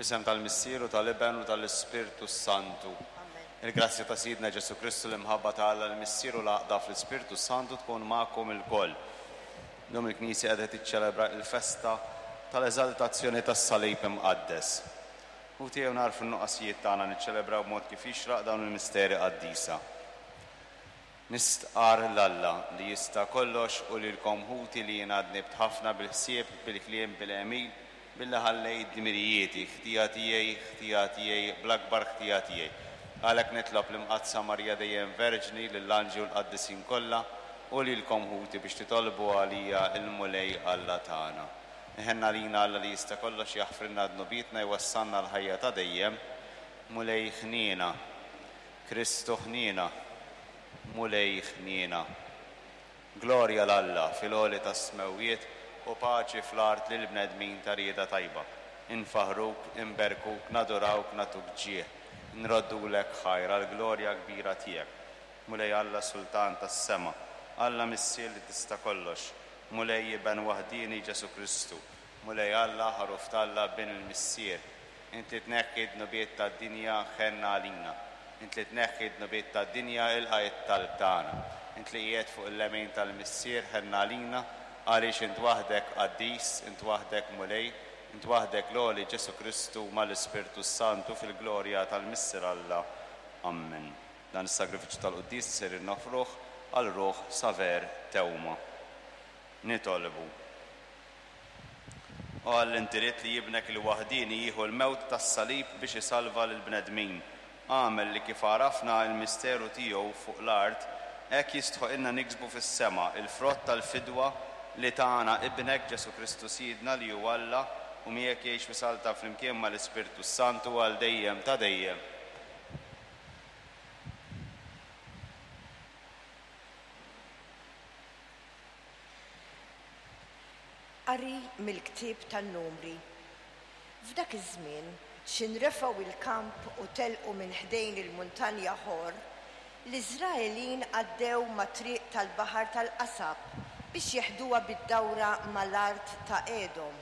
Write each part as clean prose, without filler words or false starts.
Fl-isem tal-Missier u tal-Iben u tal-Ispirtu s-Santu. Amen. Il-grazzja ta' Sidna Ġesù Kristu, l-imħabba ta' Alla l-Missier u l-għaqda fl-Ispirtu s-Santu tkun magħkom ilkoll. Illum il-Knisja qiegħda tiċċelebra l-festa tal-Eżaltazzjoni tas-Salib Imqaddes. Ħuti ejjew nagħrfu n-nuqqasijiet tagħna niċċelebraw b'mod kif jixraq dawn il-misteri qaddisa. Nistqarr 'l Alla li jista' kollox u lilkom ħuti li jiena dnibt ħafna bil-ħsieb, bil-kliem, bil-għemil, billi ħallejt dmirijieti, ħtija tiegħi, ħtija tiegħi, bl-akbar ħtija tiegħi. Għalhekk nitlob l-Imqaddsa Marija dejjem Verġni, lill-anġli u l-qaddisin kollha, u lilkom ħuti biex titolbu għalija l-Mulej Alla tagħna. Iħenn għalina Alla li jista' kollox jaħfrilna dnubietna jwassalna għall-ħajja ta' dejjem. Mulej ħniena. Kristu ħniena, Mulej ħniena. Glorja 'l Alla fil-għoli tas-smewwiet u paċi fl-art lill-bnedmin ta' rieda tajba. Infaħħruk, inberkuk, nadurawk, nagħtuk ġieħ, nroddulek ħajr għall-glorja kbira tiegħek. Mulej Alla Sultan tas-sema, Alla Missier li tista' kollox, Mulej Iben waħdieni Ġesù Kristu, Mulej Alla, Ħaruf t'Alla, Bin il-Missier, Int li tneħħi d-dnubiet tad-dinja, ħenn għalina. Int li tneħħi d-dnubiet tad-dinja, ilqa' it-talb tagħna. Int li qiegħed fuq il-lemin tal-Missier, ħenn għalina, għaliex int waħdek qaddis, int waħdek Mulej, int waħdek l-Għoli Ġesù Kristu mal-Ispirtu s-Santu fil-glorja tal-Missier Alla. Ammen. Dan is-sagrifiċċju tal-quddiesa sejrin noffruh għal ruħ Saver Theuma. Nitolbu. O Alla inti ridt li Ibnek il-waħdieni jieħu l-mewt tas-salib biex isalva lill-bnedmin. Agħmel li kif għarafna il-misteru tiegħu fuq l-art, hekk jistħoqilna niksbu fis-sema il-frott tal-fidwa li tana Ibnek Ġesù Kristu Sidna li hu Alla u miegħek jgħix u jsaltan flimkien mal-Ispirtu s-Santu għal dejjem ta' dejjem. Qari mill-Ktieb tan-Numri. F'dak iż-żmien, x'in refgħu l-kamp u telqu minn ħdejn il-muntanja Ħor, l-Iżraelin għaddew mat-triq tal-Baħar tal-Qasab biex jeħduha bid-dawra ma' l-art ta' Edom.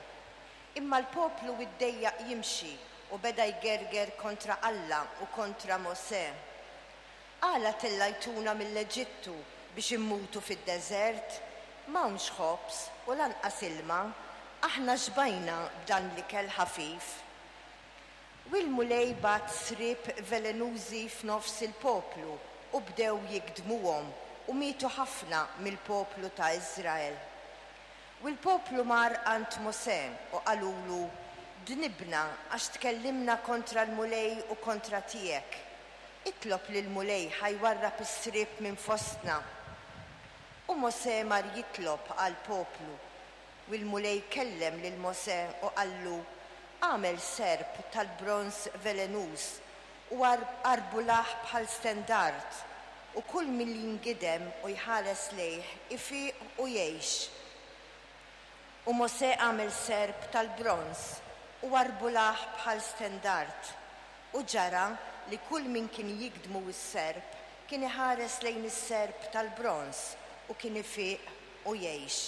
Imma l-poplu iddejjaq jimxi u beda jgerger kontra Alla u kontra Mosè. Għala tellajtuna mill-Eġittu biex immutu fid-deżert? M'hawnx ħobż u lanqas ilma, aħna xbajna b'dan l-ikel ħafif. U l-Mulej bagħat sriep velenużi f'nofs il-poplu u bdew jigdmuhom, u mietu ħafna mill-poplu ta' Iżrael. U l-poplu mar għand Mosè u qalulu, Dnibna għax tkellimna kontra l-Mulej u kontra tiegħek. Itlob lill-Mulej ħa jwarrab is-sriep minn fostna. U Mosè mar jitlob għall-poplu. U l-Mulej kellem lil Mosè u qallu, Agħmel serp tal-bronż velenuż u arbulah bħal stendard, u kull min jingidem u jħares lejh ifiq u jgħix. U Mosè għamel serp tal-bronż u arbulah bħal stendard. U ġara li kull min kien jigdmu s-serp kien iħares lejn is-serp tal-bronż u kien ifiq u jgħix.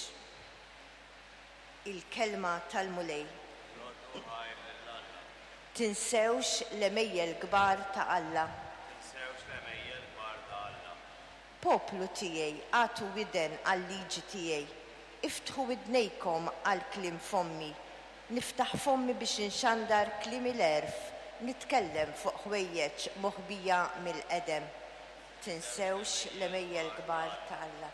Il-Kelma tal-Mulej. Roddu ħajr lil Alla. Tinsewx l-għemejjel kbar ta' Alla. Tinsewx l-għemejjel kbar ta' Alla. Poplu tiegħi, agħtu widen għal-liġi tiegħi, iftħu widnejkom għal kliem fommi. Niftaħ fommi biex inxandar kliem il-għerf, nitkellem fuq ħwejjeġ moħbija mill-qedem. Tinsewx l-għemejjel kbar ta' Alla.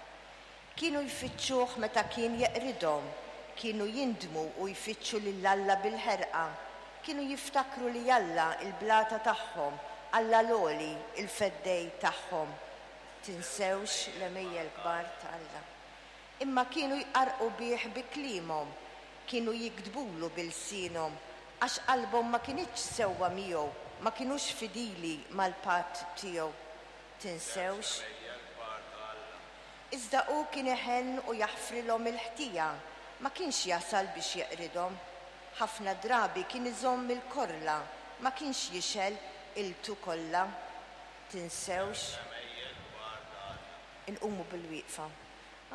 Kienu jfittxuh meta kien jeqridhom, kienu jindmu u jfittxu lil Alla bil-ħerqa. Kienu jiftakru li Alla, il-blata tagħhom, Alla l-Għoli, il-Feddej tagħhom. Tinsewx l-għemejjel kbar ta' Alla. Imma kienu jqarrqu bih bi kliemhom, kienu jigdbulu bi lsienhom, għax qalbhom ma kinitx sewwa miegħu, ma kinux fidili mal-patt tiegħu. Tinsewx. Iżda hu kien iħenn u jaħfrilhom il-ħtija, ma kienx jasal biex jeqridhom. Ħafna drabi kien iżomm il-korla, ma kienx jixgħel qiltu kollha. Tinsewx. Inqumu bil-wieqfa.